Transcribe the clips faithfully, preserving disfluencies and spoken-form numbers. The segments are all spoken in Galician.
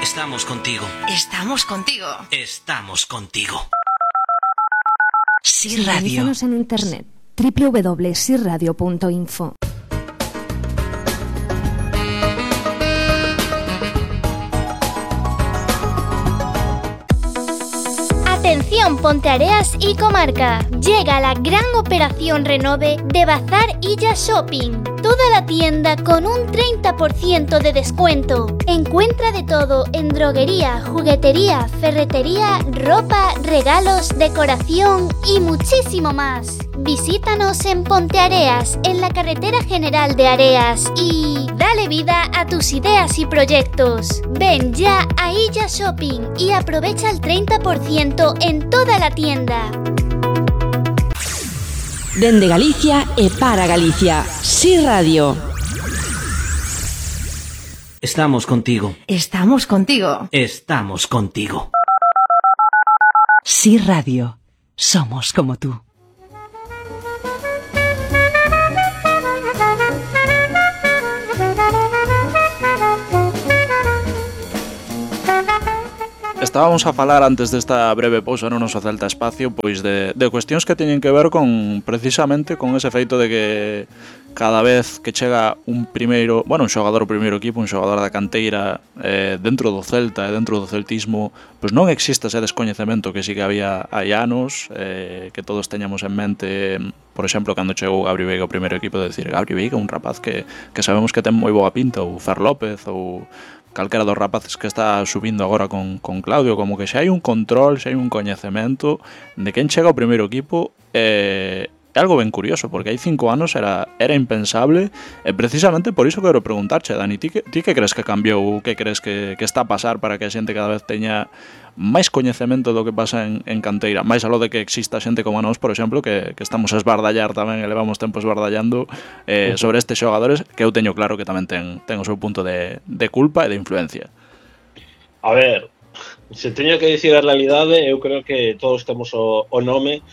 Estamos contigo. Estamos contigo. Estamos contigo. Sí Radio. Sintonízanos en internet doble u doble u doble u punto si radio punto info. Atención Ponteareas y comarca, llega la gran operación Renove de Bazar Illa Shopping. Toda la tienda con un treinta por ciento de descuento. Encuentra de todo en droguería, juguetería, ferretería, ropa, regalos, decoración y muchísimo más. Visítanos en Ponteareas, en la carretera general de Areas y dale vida a tus ideas y proyectos. Ven ya a Illa Shopping y aprovecha el treinta por ciento en toda la tienda. Dende Galicia e para Galicia. Sí Radio. Estamos contigo. Estamos contigo. Estamos contigo. Sí Radio. Somos como tú. Estábamos a falar antes desta breve pausa no noso Celta Espacio pois de, de cuestións que teñen que ver con precisamente con ese feito de que cada vez que chega un primeiro, bueno, un xogador do primeiro equipo, un xogador da canteira eh, dentro do Celta e dentro do celtismo, pois non existe ese descoñecemento que sí que había hai anos, eh, que todos teñamos en mente, por exemplo, cando chegou Gabri Veiga ao primeiro equipo, de decir, Gabri Veiga, un rapaz que, que sabemos que ten moi boa pinta, ou Fer López, ou calquera dos rapaces que está subindo agora con, con Claudio, como que xa hai un control, xa hai un coñecemento de quen chega ao primeiro equipo. eh, É algo ben curioso, porque hai cinco anos era, era impensable, e precisamente por iso quero preguntarche, Dani, ti que, ti que crees que cambiou, que crees que, que está a pasar para que a xente cada vez teña máis coñecemento do que pasa en, en canteira, máis aló de que exista xente como a nós, por exemplo, que, que estamos a esbardallar tamén, e levamos tempo esbardallando eh, sobre estes xogadores, que eu teño claro que tamén ten, ten o seu punto de, de culpa e de influencia. A ver, se teño que dicir a realidade, eu creo que todos temos o, o nome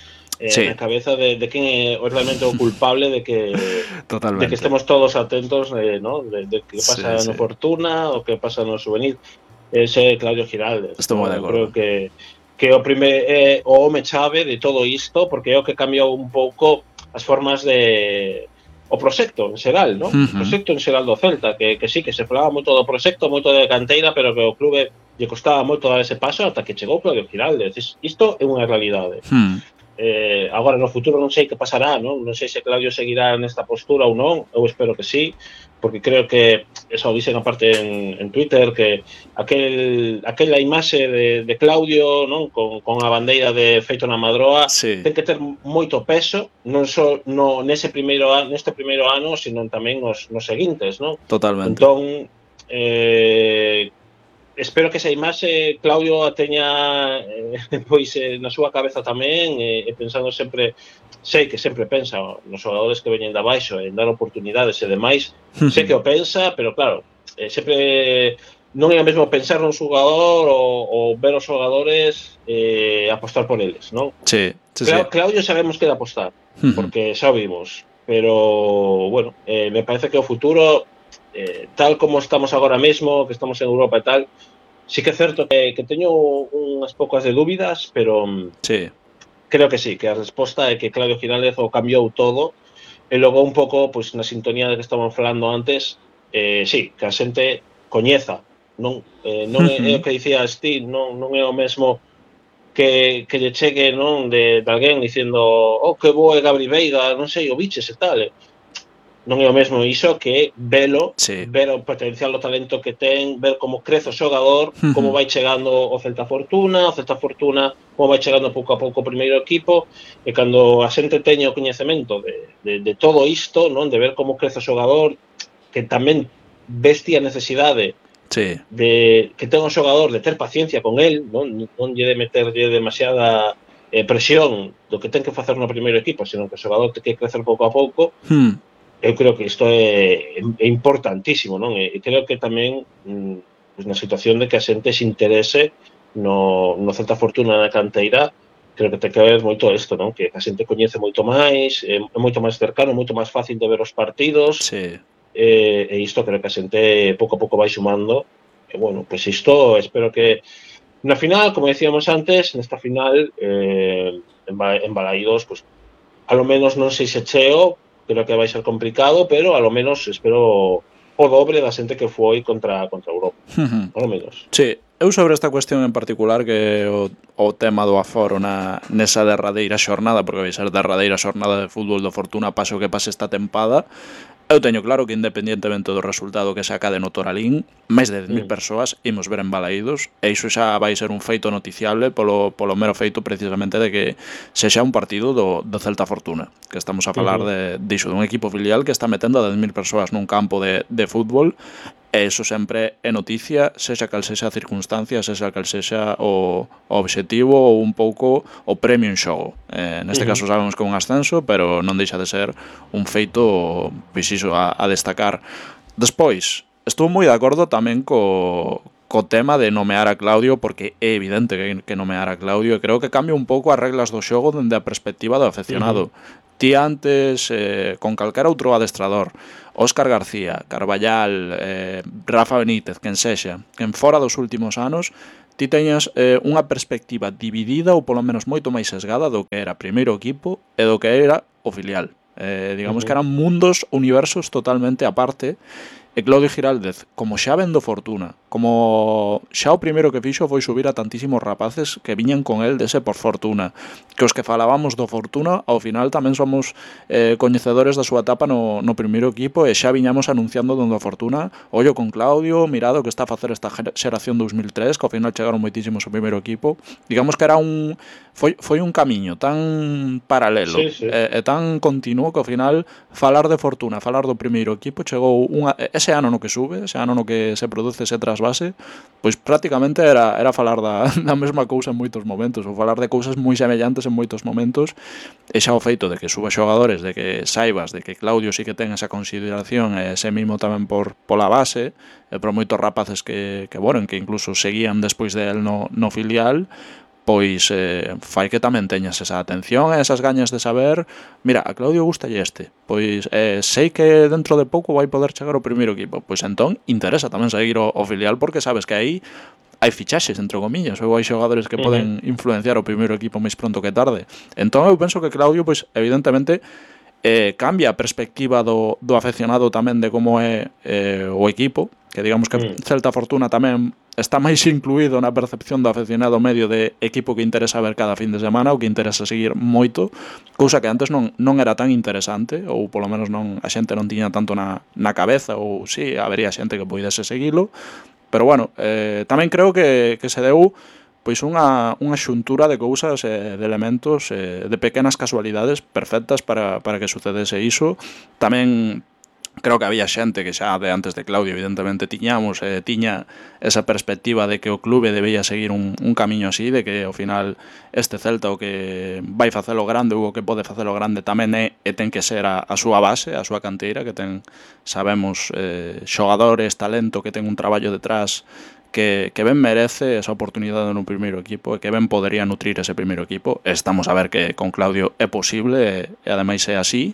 Eh, sí. na cabeza de, de quen é realmente o culpable de que de que estemos todos atentos, eh, ¿no? de, de que pasa sí, no sí. Fortuna o que pasa no Juvenil. Ese Claudio Giraldes. Estou moi de acordo. Creo que que o primer é eh, o home chave de todo isto, porque é o que cambiou un pouco as formas de o proxecto en xeral, ¿no? Uh-huh. O proxecto en xeral do Celta, que, que sí, que se falaba moito do proxecto, moito de canteira, pero que o clube lle costaba moito dar ese paso ata que chegou Claudio Giraldes. Isto é unha realidade. Uh-huh. Eh, agora no futuro non sei que pasará, non? Non sei se Claudio seguirá nesta postura ou non, eu espero que sí, porque creo que eso dicen aparte en, en Twitter, que aquel aquela imaxe de, de Claudio, non? Con, con a bandeira de feito na Madroa, sí. Ten que ter moito peso, non só no, nese primeiro ano, neste primeiro ano, sino tamén nos, nos seguintes, non? Totalmente. Entón, eh, espero que esa imaxe Claudio a teña eh, pois eh, na súa cabeza tamén, e eh, pensando sempre, sei que sempre pensa nos xogadores que veñen de abaixo en dar oportunidades e demais, sei que o pensa, pero claro, eh, sempre non é o mesmo pensar nun xogador ou, ou ver os xogadores eh, apostar por eles, non? Sí, sí, Cla- sí. Claudio sabemos que de apostar, porque xa o vimos, pero bueno, eh, me parece que o futuro Eh, tal como estamos agora mesmo, que estamos en Europa e tal, sí que é certo que, que teño unhas poucas de dúbidas, pero sí. Creo que sí, que a resposta é que Claudio Giraldes o cambiou todo, e logo un pouco, pois, na sintonía de que estaban falando antes, eh, sí, que a xente coñeza, non, eh, non é, é o que dicía Steve, non, non é o mesmo que, que lle chegue, non, de, de alguén dicindo, oh, que bo é Gabri Veiga, non sei, o biches e tal, non é o mesmo iso que velo, sí. Ver o potencial, o talento que ten, ver como crece o xogador, uh-huh. Como vai chegando o Celta Fortuna, o Celta Fortuna como vai chegando pouco a pouco o primeiro equipo, e cando a xente teña o coñecemento de, de, de todo isto, non, de ver como crece o xogador, que tamén vestia a necesidade sí. De que ten o xogador de ter paciencia con el, non, non lle de meterlle demasiada eh, presión do que ten que facer no primeiro equipo, senón que o xogador ten que crecer pouco a pouco. Hmm. Eu creo que isto é, é importantísimo, non? E creo que tamén pues, na situación de que a xente se interese no, no Celta Fortuna na canteira, creo que ten que ver moito isto, non? Que a xente coñece moito máis, é, é moito máis cercano, moito máis fácil de ver os partidos, sí. e, e isto creo que a xente pouco a pouco vai sumando, e bueno, pois pues isto espero que na final, como decíamos antes, nesta final eh, en, en Balaídos, pues, a lo menos non sei se cheo, creo que vai ser complicado, pero a lo menos espero o dobre da xente que foi contra contra Europa, a lo menos. Sí, eu sobre esta cuestión en particular, que o, o tema do aforo na, nesa derradeira xornada, porque vai ser derradeira xornada de fútbol do Fortuna, paso que pase esta tempada, eu teño claro que independientemente do resultado que se acade no Toralín, máis de dez mil mm. persoas imos ver en Balaídos, e iso xa vai ser un feito noticiable polo, polo mero feito precisamente de que sexa un partido do, do Celta Fortuna, que estamos a falar uh-huh. de, de iso, dun equipo filial que está metendo a dez mil persoas nun campo de, de fútbol, e iso sempre é noticia, sexa cal sexa a circunstancia, sexa cal sexa o, o obxectivo ou un pouco o premio en xogo. Eh, neste uh-huh. caso sabemos que é un ascenso, pero non deixa de ser un feito, pois iso, a, a destacar. Despois, estou moi de acordo tamén co, co tema de nomear a Claudio, porque é evidente que, que nomear a Claudio, e creo que cambia un pouco as reglas do xogo dende a perspectiva do aficionado. Uh-huh. Ti antes, eh, con calquera outro adestrador, Óscar García, Carballal, eh, Rafa Benítez, quen sexa, quen fora dos últimos anos, ti teñas eh, unha perspectiva dividida ou polo menos moito máis sesgada do que era primeiro equipo e do que era o filial. Eh, digamos uh-huh. que eran mundos, universos totalmente aparte. E Claudio Giraldez, como xa vendo Fortuna, como xa o primeiro que fixo foi subir a tantísimos rapaces que viñan con el dese por Fortuna, que os que falábamos do Fortuna ao final tamén somos eh, coñecedores da súa etapa no, no primeiro equipo, e xa viñamos anunciando do Fortuna, ollo con Claudio, mirado que está a facer esta xeración dos mil tres, que ao final chegaron moitísimos ao primeiro equipo. Digamos que era un foi, foi un camiño tan paralelo sí, sí. E, e tan continuo que ao final falar de Fortuna, falar do primeiro equipo, chegou unha ese ano no que sube, ese ano no que se produce ese trasvase, pois prácticamente era, era falar da, da mesma cousa en moitos momentos, ou falar de cousas moi semellantes en moitos momentos, e xa o feito de que suba xogadores, de que saibas de que Claudio sí que ten esa consideración e ese mimo tamén por pola base, e por moitos rapaces que, que, bueno, que incluso seguían despois de él no, no filial, pois eh, fai que tamén teñas esa atención e esas gañas de saber, mira, a Claudio gustalle este, pois eh, sei que dentro de pouco vai poder chegar ao primeiro equipo, pois entón interesa tamén seguir o, o filial, porque sabes que aí hai fichaxes, entre comillas, ou hai xogadores que uh-huh. poden influenciar o primeiro equipo máis pronto que tarde. Entón eu penso que Claudio, pois evidentemente, eh, cambia a perspectiva do, do afeccionado tamén de como é eh, o equipo, que digamos que mm. Celta Fortuna tamén está máis incluído na percepción do afeccionado medio de equipo que interesa ver cada fin de semana, ou que interesa seguir moito, cousa que antes non, non era tan interesante, ou polo menos non a xente non tiña tanto na, na cabeza, ou sí, habería xente que poidese seguilo, pero bueno, eh, tamén creo que, que se deu pois unha, unha xuntura de cousas, eh, de elementos, eh, de pequenas casualidades perfectas para, para que sucedese iso. Tamén creo que había xente que xa de antes de Claudio evidentemente tiñamos, eh, tiña esa perspectiva de que o clube debía seguir un, un camiño así, de que ao final este Celta o que vai facelo grande ou o que pode facelo grande tamén é e ten que ser a, a súa base, a súa canteira, que ten, sabemos, eh, xogadores, talento, que ten un traballo detrás que, que ben merece esa oportunidade no primeiro equipo e que ben podería nutrir ese primeiro equipo. Estamos a ver que con Claudio é posible e, e ademais é así.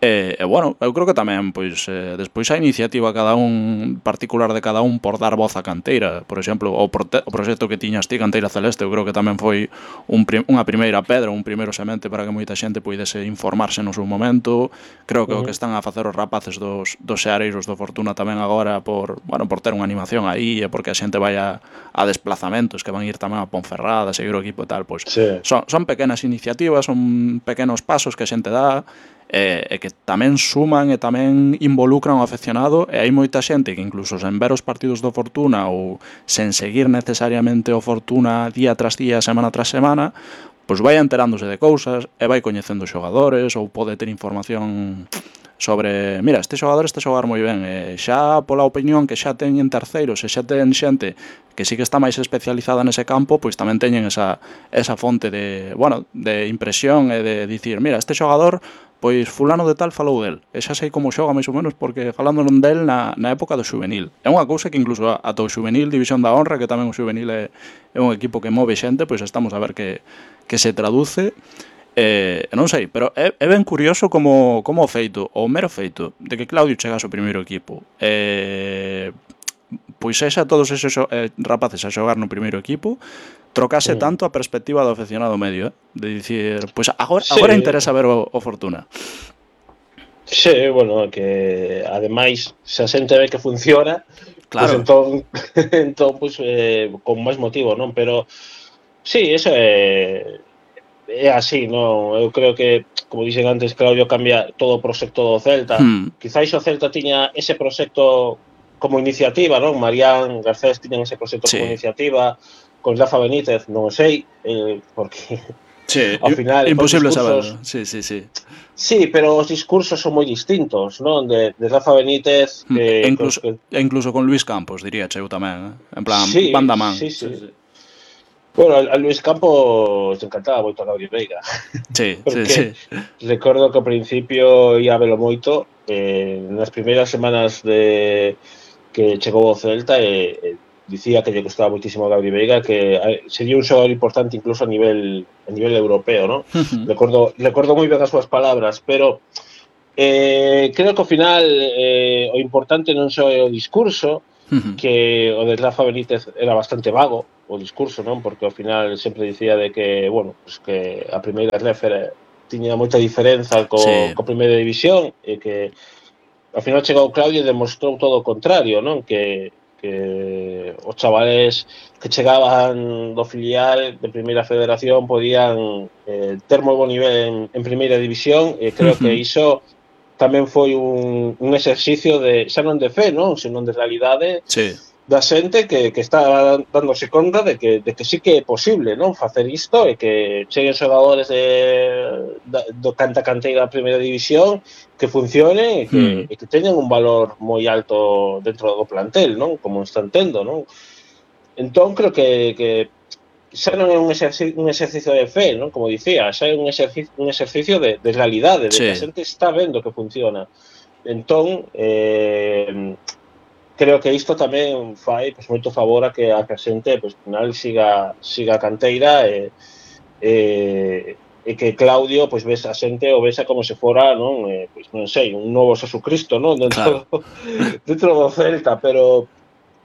E, e bueno, eu creo que tamén pois eh, despois a iniciativa cada un particular de cada un por dar voz á canteira, por exemplo, o, prote- o proxecto que tiñas ti, Canteira Celeste, eu creo que tamén foi un prim- unha primeira pedra, un primeiro semente para que moita xente poidese informarse no seu momento. Creo que uh-huh. o que están a facer os rapaces dos, dos xeareiros do Fortuna tamén agora por, bueno, por ter unha animación aí e porque a xente vai a, a desplazamentos que van ir tamén a Ponferrada, a seguir o equipo e tal, pois sí. son, son pequenas iniciativas, son pequenos pasos que a xente dá e, e que tamén suman e tamén involucran ao afeccionado, e hai moita xente que incluso sen ver os partidos do Fortuna ou sen seguir necesariamente o Fortuna día tras día, semana tras semana, pois vai enterándose de cousas e vai coñecendo xogadores ou pode ter información sobre, mira, este xogador está a xogar moi ben, e xa pola opinión que xa teñen terceiros e xa ten xente que sí que está máis especializada nese campo, pois tamén teñen esa, esa fonte de, bueno, de impresión e de dicir, mira, este xogador pois fulano de tal falou del, e xa sei como xoga máis ou menos porque falando non del na, na época do xuvenil. É unha cousa que incluso ata o xuvenil, División da Honra, que tamén o xuvenil é, é un equipo que move xente, pois estamos a ver que, que se traduce. Eh, non sei, pero é, é ben curioso como, como o feito, o mero feito de que Claudio chegase ao primeiro equipo, eh, pois sexa todos esos eh, rapaces a xogar no primeiro equipo, trocase mm. tanto a perspectiva do aficionado medio, eh? De dicir, pois agora, sí. agora interesa ver o, o Fortuna. Sí, bueno, que ademais se a xente ve que funciona, claro. Pues entón, entón pues, eh, con máis motivo, non? Pero sí, eso é é así, non? Eu creo que, como dixen antes, Claudio cambia todo o proxecto do Celta. Hmm. Quizáis o Celta tiña ese proxecto como iniciativa, non? Marián, Garcés tiñan ese proxecto sí. como iniciativa, con Rafa Benítez, non o sei, eh, porque sí, ao final imposible discursos, saberlo. Sí, sí, sí. Sí, pero os discursos son moi distintos, non? De, de Rafa Benítez que, e incluso, que... e incluso con Luis Campos, diría eu tamén, eh? En plan, sí, banda man. Sí, sí. sí, sí. Bueno, a Luis Campos encantaba moito a Gabriel Veiga. Sí, sí, sí. Recordo que ao principio ia velo moito, eh, nas primeiras semanas de que chegou ao Celta, e eh, dicía que lle gustaba moitísimo a Gabriel Veiga, que sería un xogador importante incluso a nivel a nivel europeo, ¿no? Uh-huh. Recordo, recordo moi ben as súas palabras, pero eh, creo que ao final eh, o importante non só é o discurso, uh-huh. que o de Rafa Benítez era bastante vago, o discurso, non? Porque ao final sempre dicía de que, bueno, pues que a primeira refer tiña moita diferenza co, sí. co primeira división, e que ao final chegou Claudio e demostrou todo o contrario, non? Que, que os chavales que chegaban do filial de primeira federación podían eh, ter moi bo nivel en, en primeira división, e creo uh-huh. que iso tamén foi un, un exercicio de, xa non de fe, non? Senón de realidade, sí. da xente que, que está dándose conta de que, de que sí que é posible, non? Facer isto, e que cheguen xogadores de, de, do canta canteira da primeira división que funcione e que, mm. e que teñan un valor moi alto dentro do plantel, non? Como están tendo, non? Entón, creo que, que xa non é un exercicio, un exercicio de fe, non? Como dicía, xa é un exercicio, un exercicio de, de realidade, de sí. que a xente está vendo que funciona. Entón, eh, creo que isto tamén fai pues, moito favor a que a xente pues, final siga siga a canteira e, e, e que Claudio pues, ves a xente o vesa como se fora, non, eh, pues, non sei, un novo Jesucristo, non, dentro, claro. do, dentro do Celta, pero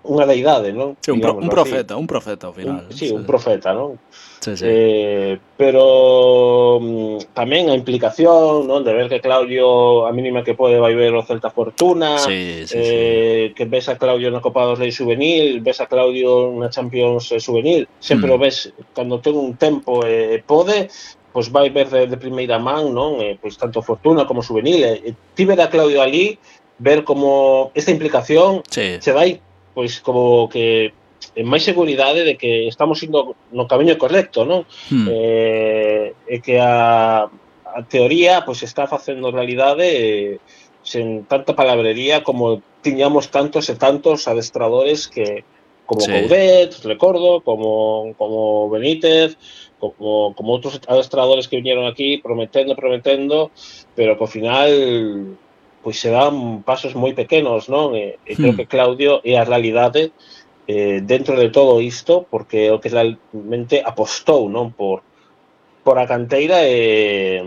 unha deidade, non? Sí, un, pro, un profeta, así. un profeta ao final. Un, sí, sí, un profeta, non? Sí, sí. Eh, pero um, tamén a implicación, non, de ver que Claudio a mínima que pode vai ver o Celta Fortuna, sí, sí, eh, sí. que ves a Claudio na Copa dos Reis juvenil, ves a Claudio na Champions juvenil, sempre mm. o ves cando ten un tempo e eh, pode, pois vai ver de, de primeira man, non? Eh, pois tanto Fortuna como juvenil, e eh, ti ver a Claudio ali, ver como esta implicación sí. se vai pois como que en máis seguridade de que estamos indo no camiño correcto, non? Hmm. Eh, e que a, a teoría pois está facendo realidade eh, sen tanta palabrería como tiñamos tantos e tantos adestradores que como sí. Coudet, recordo, como como Benítez, como como outros adestradores que viñeron aquí prometendo, prometendo, pero que ao final pois se dan pasos moi pequenos, non? E, e creo hmm. que Claudio é a realidade eh, dentro de todo isto, porque o que realmente apostou, non? Por, por a canteira e,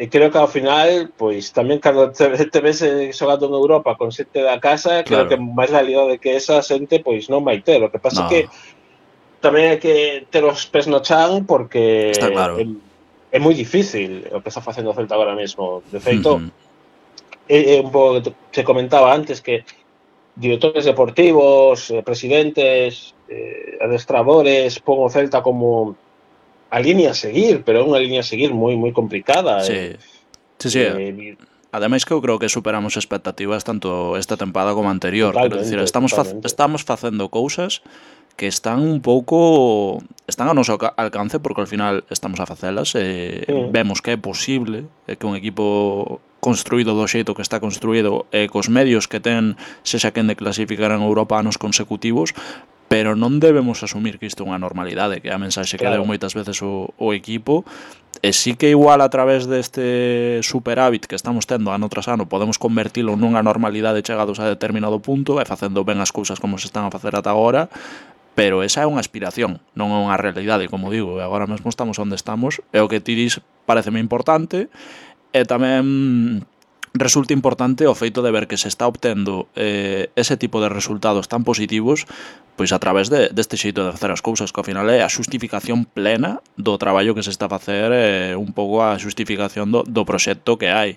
e creo que ao final, pois tamén cando te, te ves xogando en Europa con xente da casa, claro. creo que máis realidade que esa xente pois non vai ter. O que pasa no. que tamén hai que ter os pés no chan, porque está claro. é, é moi difícil o que está facendo o Celta agora mesmo. De feito, uh-huh. é, é un pouco que te comentaba antes, que directores deportivos, eh, presidentes, eh, adestradores pon o Celta como a línea a seguir, pero é unha línea a seguir moi moi complicada. Sí, eh, sí, sí. Eh, Ademais que eu creo que superamos expectativas tanto esta tempada como a anterior. Quero dicir, estamos fa- estamos facendo cousas que están un pouco están a noso alcance, porque ao final estamos a facelas e sí. vemos que é posible que un equipo construído do xeito que está construído e cos medios que ten sexa quen de clasificar en Europa anos consecutivos, pero non debemos asumir que isto é unha normalidade, que é a mensaxe que claro. deu moitas veces o, o equipo, e sí que igual a través deste superávit que estamos tendo ano tras ano podemos convertilo nunha normalidade chegados a determinado punto e facendo ben as cousas como se están a facer ata agora, pero esa é unha aspiración, non é unha realidade, como digo, e agora mesmo estamos onde estamos, e o que ti dis pareceme importante, e tamén resulta importante o feito de ver que se está obtendo eh, ese tipo de resultados tan positivos pois a través de, deste xeito de facer as cousas, que ao final é a xustificación plena do traballo que se está a facer, eh, un pouco a xustificación do, do proxecto que hai.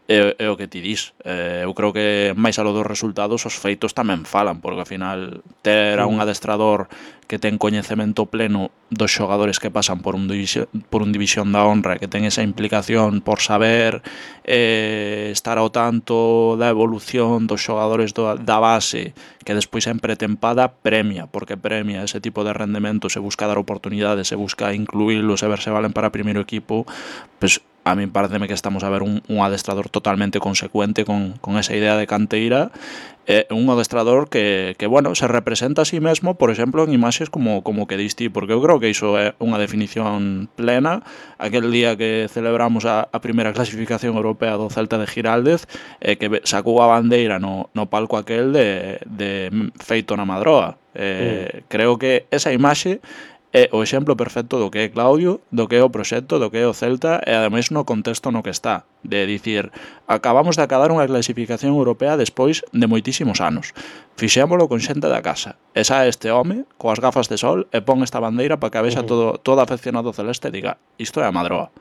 É, é o que ti dis. Eh, eu creo que máis alo dos resultados os feitos tamén falan, porque ao final ter a un adestrador que ten coñecemento pleno dos xogadores que pasan por un división, por un división da honra, que ten esa implicación por saber eh, estar ao tanto da evolución dos xogadores do, da base, que despois en pretempada premia, porque premia ese tipo de rendemento, se busca dar oportunidades, se busca incluílos e ver se valen para primeiro equipo, pois a mí pareceme que estamos a ver un, un adestrador totalmente consecuente con, con esa idea de canteira, eh, un adestrador que, que, bueno, se representa a sí mesmo, por exemplo, en imaxes como, como que diste, porque eu creo que iso é unha definición plena. Aquel día que celebramos a, a primeira clasificación europea do Celta de Giraldez, eh, que sacou a bandeira no, no palco aquel de, de feito na Madroa. Eh, mm. Creo que esa imaxe é o exemplo perfecto do que é Claudio, do que é o proxecto, do que é o Celta, e ademais no contexto no que está, de dicir, acabamos de acabar unha clasificación europea despois de moitísimos anos, fixémolo con xente da casa, e xa este home, coas gafas de sol, e pon esta bandeira para que a vexa todo, todo aficionado celeste e diga, isto é a Madroa.